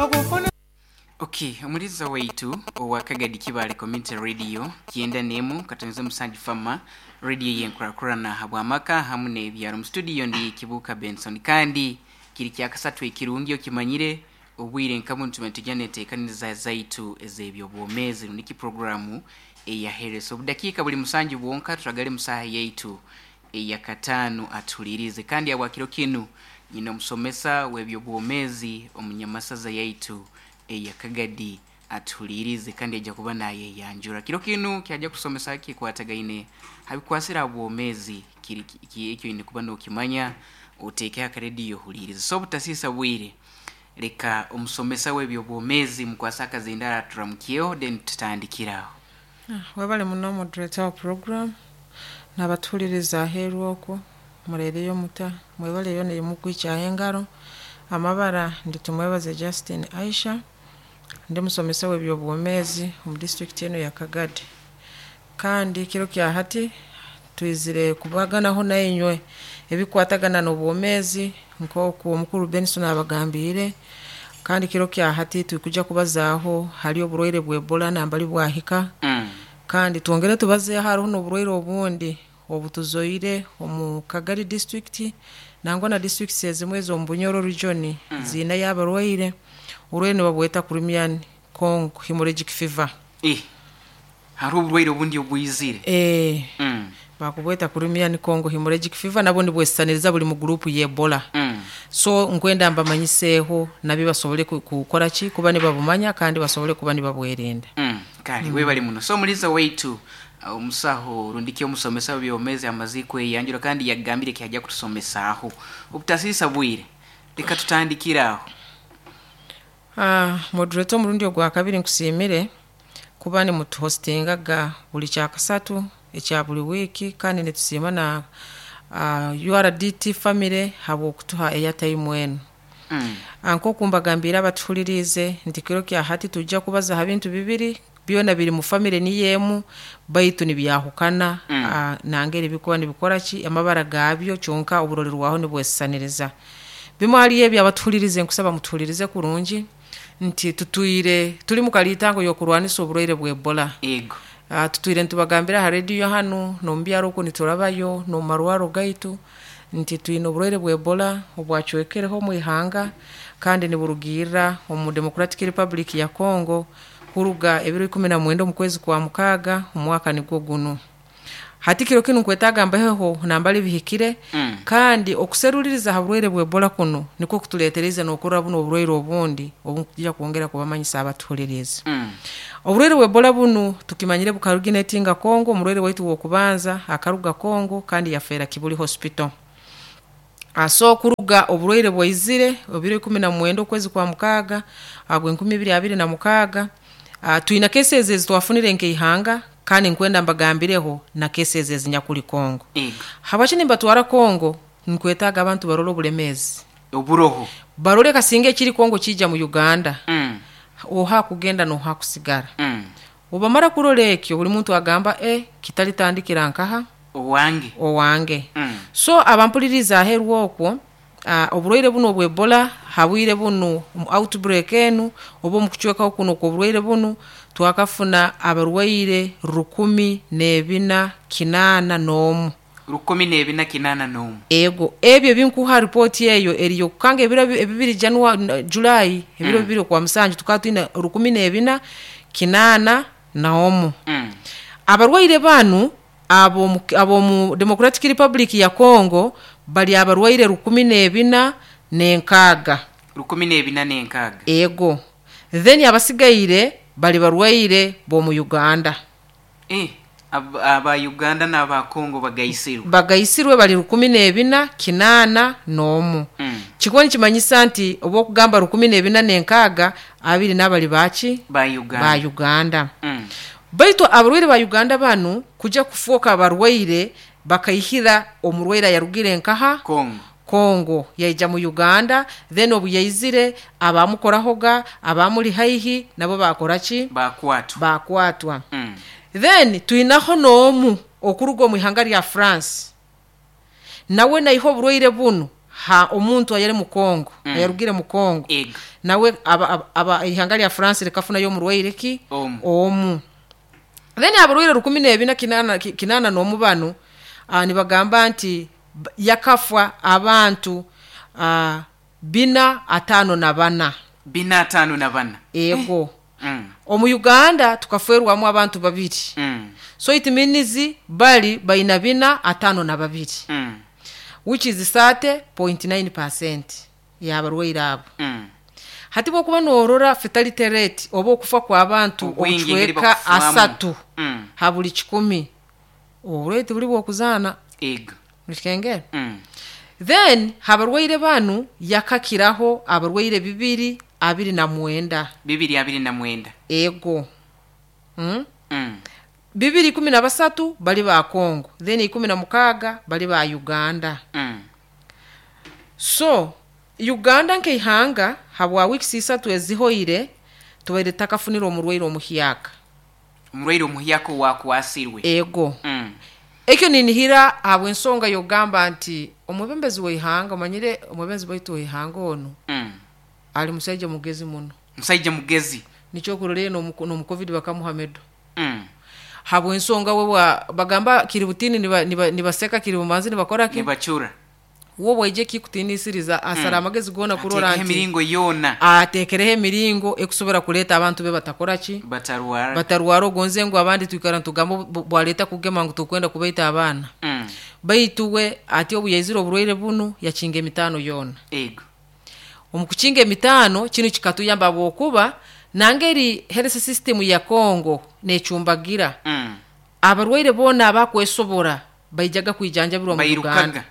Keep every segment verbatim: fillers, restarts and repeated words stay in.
Okufuna Okay, omuliza waitu owa Kagadi Kibale Community Radio kyenda nemu katonze musanju fama radio yenkurakurana habwamaka hamu n'ebyaro. Mu studio ndi Kibuka Benson, kandi kiri kyakasatu ekirungi okimanyire obwire nkamu nituba tujya neteekaniriza zaitu ez'ebyobwomeezi niki programu eyaheresa obudakiika buli musanju bwonka turagale musaha yaitu eyakataano atulirize. Kandi abwakiro kinu nyina omusomesa w'ebyobwomeezi omunyamasaza yaitu eyakagadi atuhulirize, kandi ajja kuba nayeyanjura. Kiro kinu kyajja kusomesa kikwatagaine habikwasira bwomezi kiri ki- ekyo ine kuba nokimanya, oteeke akarediyo ohulirize. So obutasiisa bwire, leka omusomesa w'ebyobwomeezi mukwasa akazindara aturamukyeho, then tutandikiraho. Webale muno, moderator wa program, n'abatuhuliriza aheeru okwo mureereyo muta, mwebaleyo nemukwikyaho engaro. Amabara ndi Tumwebaze Justin Aisha, ndi musomesa w'ebyobwomeezi omu district eno ya Kagadi. Kandi kiro kya hati twizire kubaganaho nainywe ebikwatagana n'obwomeezi nk'oku omukuru Benson abagambiire. Kandi kiro kya hati tukuja kubazaaho hali oburwaire bwa Ebola nambali bwahika, mm. kandi twongere tubazeeho hariho n'oburwaire obundi obutuzoire omu Kagari district nangwa na districts ezimwe ez'omu Bunyoro region mm. ziinayo abarwaire. Oburwaire nibabweta Crimean Congo hemorrhagic fever. Eh, hariho oburwaire obundi obwizire? Eh, mm. bakubweta Crimean Congo hemorrhagic fever, nabwo nibwesisaniriza buli mu gurupu ya Ebola. Mm. So nkwenda mbamanyiseeho nabyo basobole ku- kukora ki kuba nibabumanya kandi basobole kuba nibabwerinda. Mm, kale mm. Webale muno. So omuliza waitu, uh, omusaho rundiki omusomesa w'ebyomezi amaze kweyanjura kandi yagambire kyajja kutusomesaaho. Obutasiisa bwire, leka tutandikiraho. Ah, moderator, omurundi ogwa kabiri nkusiimire kuba nimutuhostingaga buli kyakasatu ekya buli wiiki, kandi nitusiima na uh, U R D T family habw'okutuha airtime enu. mm. Ah, nk'oku mbagambiire abatuhuliriize nti kiro kya hati tujja kubaza ha bintu bibiri, byona biri mu family niyo emu baitu nibyahukana. Mm. Ah, nangeri bikuba nibikora ki amabara gaabyo, kyonka oburolerwaho nibwesisaniriza. Bimwe haliyo ebyo abatuhulirize nkusaba mutuhulirize kurungi nti tutwire tuli mu kaliitango y'okurwanisa oburwaire bwa Ebola. Ego. Uh, tutwire nitubagambira ha rediyo hanu n'omu byaro oku niturabayo n'omu marwaro gaitu nti twine oburwaire bwa Ebola obwacwekereho omu ihanga, kandi niburugirra omu Democratic Republic ya Congo kuruga ebiro ikumi na mwenda omu kwezi kwa mukaaga omwaka nigwo gunu. Hati kiro kinu nkwetaaga mbaheho nambali bihikire. Mm. Kandi okuseruliriza ha burwaire bwa Ebola kuno nikwo kutuleetereza n'okurora buno oburwaire obundi obukujja kwongera kubamanyisa abatuhuliriza. Mm. Oburwaire bwa Ebola bunu tukimanyire bukariginatinga Congo. Omurwaire waitu w'okubanza akaruga Congo kandi yafeera Kibuli Hospital. Aso kuruga oburwaire bwaizire ebiro ikumi na mwenda okwezi kwa mukaaga agwe enkumi ibiri abiri na mukaaga, ah, twina cases ezi twafunire nk'eihanga, kandi nkwenda mbagambireho na cases ezinyakuli Congo. Ego. Habwaki nimbatwara Congo? Nkwetaaga abantu barole obulemeezi oburoho, barole kasinga ekiri Congo kijja mu Uganda, mm. oha kugenda noha kusigara. Mm. Obamara kurora ekyo, buli muntu agamba, e kitalitandikira nkaha? Owange. Owange. Mm. So abampuliriza aheeru okwo, uh, oburwaire buno obwa Ebola habwire bunu mu outbreak enu oba omu kucwekaho kuno kw'oburwaire bunu twakafuna abarwaire rukumi n'ebina kinaana n'omu. Rukumi n'ebina kinaana n'omu. Ego, ebyo ebinkuha ripooti eyo eriyo kukanga ebiro ebi- ebibiri Janua- Julai, ebiro Mm. bibiri okwa musanju, tukaba twine rukumi n'ebina kinaana n'omu. Mm. Abarwaire banu ab'omu ab'omu Democratic Republic ya Congo bali abarwaire rukumi n'ebina n'enkaaga. Rukumi n'ebina n'enkaaga. Ego, then abasigaire bali barwaire b'omu Uganda. Eh, ab- aba Uganda n'aba Congo bagaisirwe. Bagaisirwe bali rukumi n'ebina kinaana n'omu. Mm. Kikuba nikimanyisa nti oba okugamba rukumi n'ebina n'enkaaga, abiri n'abali baki? Ba Uganda. Ba Uganda. Mm. Baitu abarwaire ba Uganda banu kujja kufuuka abarwaire bakaihira omurwaire ayarugire nkaha? Congo. Congo, yaija mu Uganda, then obu yaizire abamukorahoga abamuli haihi nabo bakora ki? Bakwatwa. Bakwatwa. Mm. Then twinaho n'omu okuruga omu ihanga lya France, nawe naiha oburwaire bunu Ha omuntu ayali mu Congo, Mm. ayarugire mu Congo, Ego. Nawe aba, aba, aba ihanga lya France likafunayo omurwaire ki? Omu. Omu. Then abarwaire rukumi n'ebina kinana, ki- kinana n'omu banu, uh, nibagamba nti b- yakafwa abantu uh, bina atano na bana. Bina atano na bana. Ego. Mm. Omu Uganda tukafwerwamu abantu babiri. Mm. So it means bali baina bina atano na babiri, Mm. which is thirty point nine percent y'abarwaire abo. Mm. Hati bwokuba norora fatality rate oba okufa kw'abantu Obwingi engeri obucweka bakufamu. asatu Mm. ha buli kikumi, oburwaire tibuli bwokuzaana. Ego. Mukikengera? Mm. Then abarwaire banu yakakiraho abarwaire bibiri abiri na mwenda. Bibiri abiri na mwenda. Ego, mm? Mm. Bibiri ikumi na basatu bali ba Congo, then ikumi na mukaaga bali ba Uganda. Mm. So Uganda nkeihanga, habwa weeks isatu ezihoire, tubaire takafunira omurwaire omuhyaka. Omurwaire omuhyaka owakwasirwe. Ego. Mm. Ekyo ninihira habw'ensonga yogamba nti omwebembezi w'eihanga, omanyire omwebembezi waitu w'eihanga ono, Mm. ali musaija mugezi muno. Musajja mugezi. Nikyo kurorere n'omu COVID bakamuha medal. Mm. Habw'ensonga we bwa bagamba kiri butini niba- niba- nibaseka, kiri bumanzi nibakora ki? Nibacura. Wo bwaije kikutinisiriza, asara amagezi gona kurora ateekaho nti emiringo yoona. Atekereho emiringo ekusobora kuleeta abantu be batakora ki? Batarwara. Batarwara. Ogonze ngu abandi twikara nitugamba bu- bwaleeta kugema ngu tukwenda kubaita abaana, Mm. baitu we ati obu yaizire oburwaire bunu yakinga emitaano yoona. Ego. Omu kukinga emitaano kinu kikatuyamba bwokuba nangeri health system ya Congo necumbagira, Mm. abarwaire boona abakwesobora baijaga kwijanjabirwa mu Bairukaga. Uganda.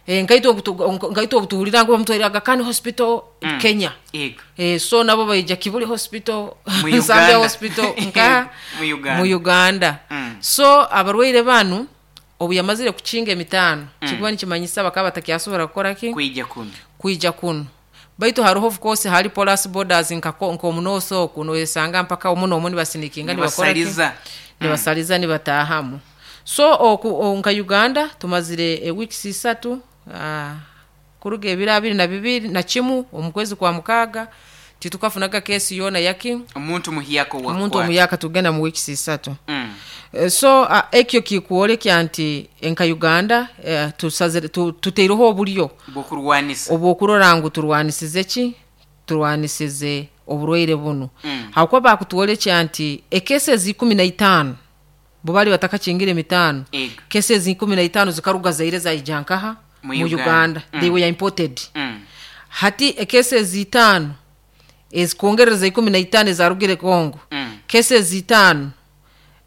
Eh, nkaitwe obutu- nkaitwe obutuhulira ngu bamutwaire Aga Khan Hospital, Mm. Kenya. Ego. Eh, so nabo baija Kibuli Hospital, Mu Nsambya Uganda. Hospital, nka Mu Uganda. mu Uganda. Mm. So abarwaire banu obu yamazire kukinga emitaano, kikuba nikimanyisa bakaba batakyasobora kukora ki? Kwija kuno. Kwija kuno. Baitu hariho, of course, hari porous borders nka nk'omunooso oku noyesanga mpaka omu n'omu nibasinikinga, nibakora ki? Nibasaliza. Nibasaliza, nibatahamu. So oku o- nka Uganda tumazire e weeks isatu, uh, kuruga ebiro abiri na bibiri na kimu omu kwezi kwa mukaaga, titukafunaga kesi yoona yaki? Omuntu muhyaka. Omuntu owakwata. omuyaka, tugenda mu weeks isatu. Mm. Eh, so uh, ekyo kikuolekya nti nka Uganda, uh, tusazire tu, tuteireho obulyo bwokurwanisa. Obwokurora ngu turwanisize ki? Turwanisize oburwaire bunu. Mm. Hakuba bakutwolekya nti ekesi ikumi na itaano bo bali batakakingire emitaano, Ego. cases ikumi na itaano zikaruga Zaire zaija nkaha? Mu Mu Uganda. Uganda. Mm. They were imported. Mm. Hati ecases itaano ezikongereza ikumi na itaano ezarugire Congo, Mm. cases itaano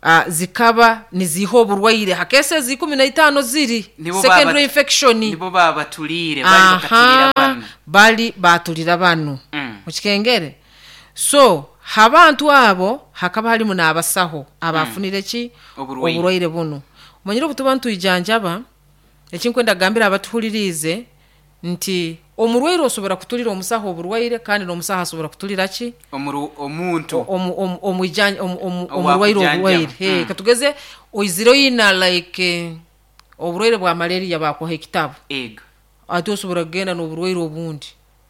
uh, zikaba niziha oburwaire ha cases ikumi na itaano ziri Nibo secondary baba- infection. Nibo babatuliire, bali bakatulira Aha, banu. Bali batulira banu. Mm. Mukikengere? So habantu abo hakaba halimu n'abasaho abafunire ki? Oburwaire. Oburwaire bunu. Omanyire obutuba ntwijanjaba, ekinkwenda kugambira abatuhuliriize nti omurwaire osobora kutulira omusaho oburwaire, kandi n'omusaho asobora kutulira ki? Omuru- omuntu Omu- omu- omwijanja- omu- omu- Owa omurwaire kujanjaba. oburwaire. Hey, Mm. katugeze oizire oyina like eh, oburwaire bwa malaria, bakuha ekitabu, Ego. ate osobora kugenda n'oburwaire obundi,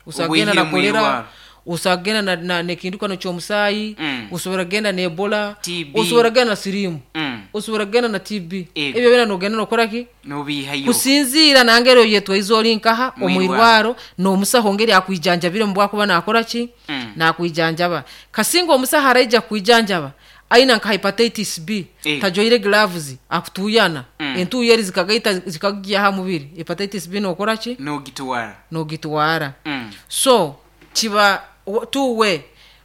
osobola kugenda Obwihire na kolera, mwirwaro. osobola kugenda na- na- nekindukano ky'omusaayi, Mm. osobola kugenda na Ebola, T B. osobola kugenda na sirimu, Mm. osobola kugenda na T B. Ego. Ebyo byona nogenda nokora ki? Nobiihayo. Kusinziira nangeri oyetwaize ori nkaha Mwirwaro. omwirwaro n'omusaho ngeri akwijanjabire mu bwakuba nakora ki? Mm. Nakwijanjaba. Kasinga omusaho araija kwijanjaba aina nka hepatitis B, Ego. tajoire gloves, akutuyana, Mm. entuyo eri zikagaita zikagya ha mubiri, hepatitis B nokora ki? Nogitwara. Nogitwara. Mm. So kiba wo- tuwe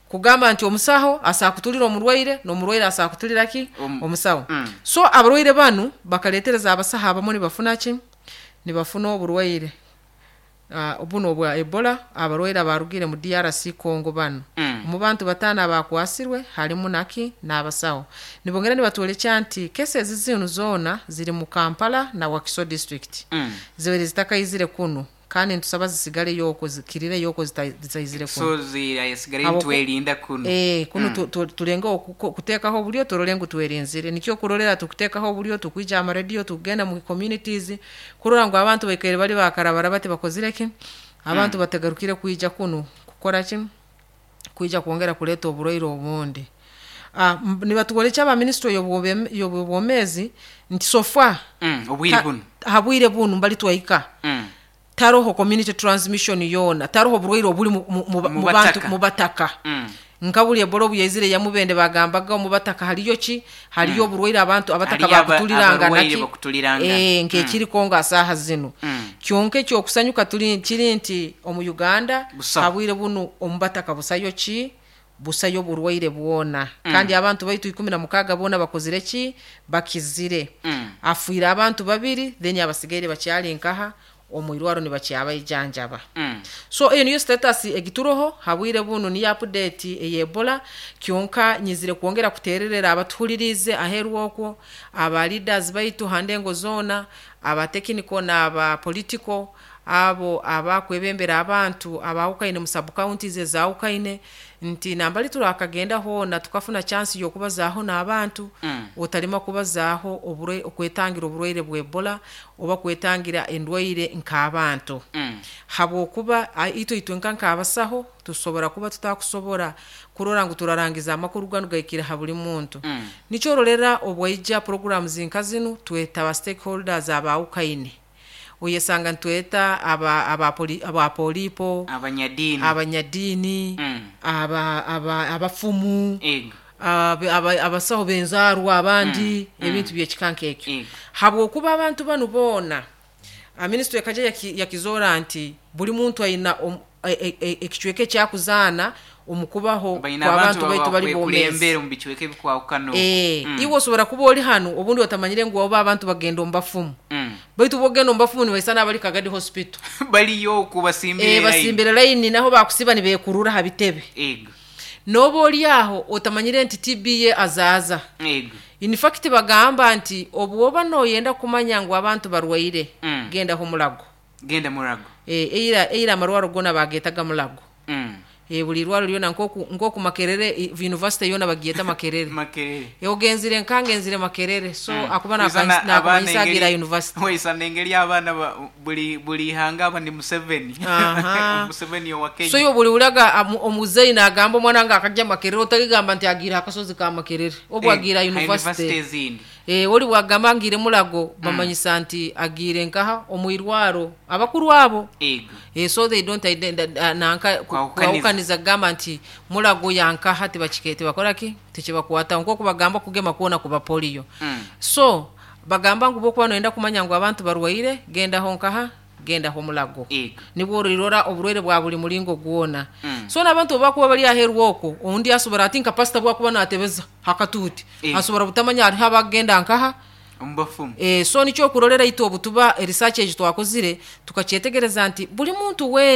kugamba nti omusaho asakutulira omurwaire n'omurwaire asakutulira ki? Om- Omusaho. Mm. So abarwaire banu bakaletereza abasaho abamu nibafuna ki? Nibafuna oburwaire uh, buno obwa Ebola, abarwaire abarugire mu D R C Congo bano. Mm. Mu bantu bataano abakwasirwe halimu naki? N'abasawo. Nibongera nibatwolekya nti cases zinu zoona ziri mu Kampala na Wakiso District, Mm. zibaire zitakaizire kunu. Kandi ntusaba zisigaleyo okwo, zikirireyo okwo, zita- zitaizire kuno. So zirasigara Habwoku- nitwerinda kuno. Eh, kuno tu- tu- tulengeho kuko- kuteekaho obulyo, turole ngu twerinzire. Nikyo kurolera tukuteekaho obulyo, tukwija amarediyo, tukugenda mu communities kurora ngu abantu baikaire bali bakarabara bati bakozire ki, abantu bategarukire kwija kunu kukora ki, kwija kwongera kuleeta oburwaire obundi. Ah, m- nibatwolekya aba ministry y'obwomezi nti so far Mm, obwire ta- bunu habwire bunu mbali twahika, Mm. taroho community transmission yoona, taroho oburwaire obuli mu- mu- mu Mu mu bantu bataka. mu bataka. Mm. Nka buli Ebola obu yaizire yamubende, bagambaga omu bataka haliyo ki, haliyo oburwaire, abantu abataka Haliyo aba- bakutulirangana. Abarwaire Ki bakutulirangana. Eh, nk'ekiriko nga saaha zinu. Mm. Kyonka ekyokusanyuka tuli kiri nti omu Uganda Busaho. habwire bunu omu bataka busayo ki, busayo burwaire bwona. Kandi abantu baitu ikumi na mukaaga boona bakozire ki, bakizire. Mm. Afiire abantu babiri, then abasigaire bakyali nkaha omu irwaro nibakyabaijanjaba. Mm. So eyo niyo status egituroho habwire bunu, niyo update ey'Ebola. Kyonka nyizire kwongera kutererera abatuhulirize aheru okwo, aba leaders baitu handengo zoona, aba technical n'aba political, abo abakwebembera abantu abawukaine mu sub counties ezawukaine, nti nambali turakagenda hoona tukafuna chance y'okubazaaho n'abantu, Mm. otalima kubazaaho oburwe- okwetangira oburwaire bwa Ebola oba kwetangira endwaire nk'abantu, Mm. habwokuba a- itwe itwe nka nk'abasaho tusobora kuba tutakusobora kurora ngu turarangiza amakuru ganu gaikire ha buli muntu. Mm. Nikyorolera obwaija programs nka zinu tweta aba stakeholders abawukaine, oyesanga ntweta aba aba poli- aba polipo, abanyadiini, abanyadiini, Mm. aba aba abafumu, ego abe- aba- abasaho b'enzaarwa abandi, ebintu byekika nk'ekyo, Ego. habwokuba abantu banu boona, minisitule ekaja yaki- yakizoora nti buli muntu ayina omu- e- e- e- ekicweka ekyakuzaana omu kubaho Baina kw'abantu abantu baitu bali bomeezi. bakulembera omu bicweka ebikwawukana okwo. Eh, Mm. iwe osobora kuba oli hanu obundi otamanyire ngu oba abantu bagenda omu bafumu, Mm. baitu bogenda omu bafumu nibaisana abali Kagadi Hospital. Baliyo okwo basimbire Eh, line. basimbire layini, naho bakusiba nibekurura ha bitebe. Ego. Noba oli aho otamanyire nti T B ye azaaza. Ego. In fact bagamba nti obu oba noyenda kumanya ngu abantu barwaire, Mm. gendaho Mulago. Genda Murago. e, eira eira amarwaro gona bagetaga Mulago. Mm. e, buli irwaro lyona, nkoku nkoku Makerere i- university yona bagiyeta Makerere. Makerere. E, ogenzire nkangenzire Makerere, so Mm. akuba Wisana abaana nakumanyisa agira engeri- university. Wisana engeri abaana ba- buli buli ihanga aba ni Museveni. Aha. Museveni owa Kenya. So yo buli ulaga amu- omuzeyi nagamba omwana nga akajja Makerere, otaligamba nti agira akasozi ka Makerere obu Eh, agira ha university. university ezindi. E, oli bwagamba ngire Mulago, bamanyisa nti agiire nkaha omwirwaro abakuru abo. Ego. E, so they don't ident- uh, nanka Kwawukaniza. kwawukaniza kugamba nti Mulago yankaha, tebakike tebakoraki, tekibakwata nkoku bagamba kugema kuona kuba polio. Mm. So bagamba ngu bokuba noyenda kumanya ngu abantu barwaire, gendaho nkaha, gendaho Mulago. Ego. Nibwo orirora oburwaire bwa buli mulingo gwona. Mm. So n'abantu obakuba bali aheru okwo, ondi asobora ati nka pasita bwakuba natebeza hakatuuti, Eh. asobora butamanya hariho abagenda nkaha. Omu bafumu. E, so nikyo okurolera itwe obutuba research egi twakozire tukakyetegereza nti buli muntu we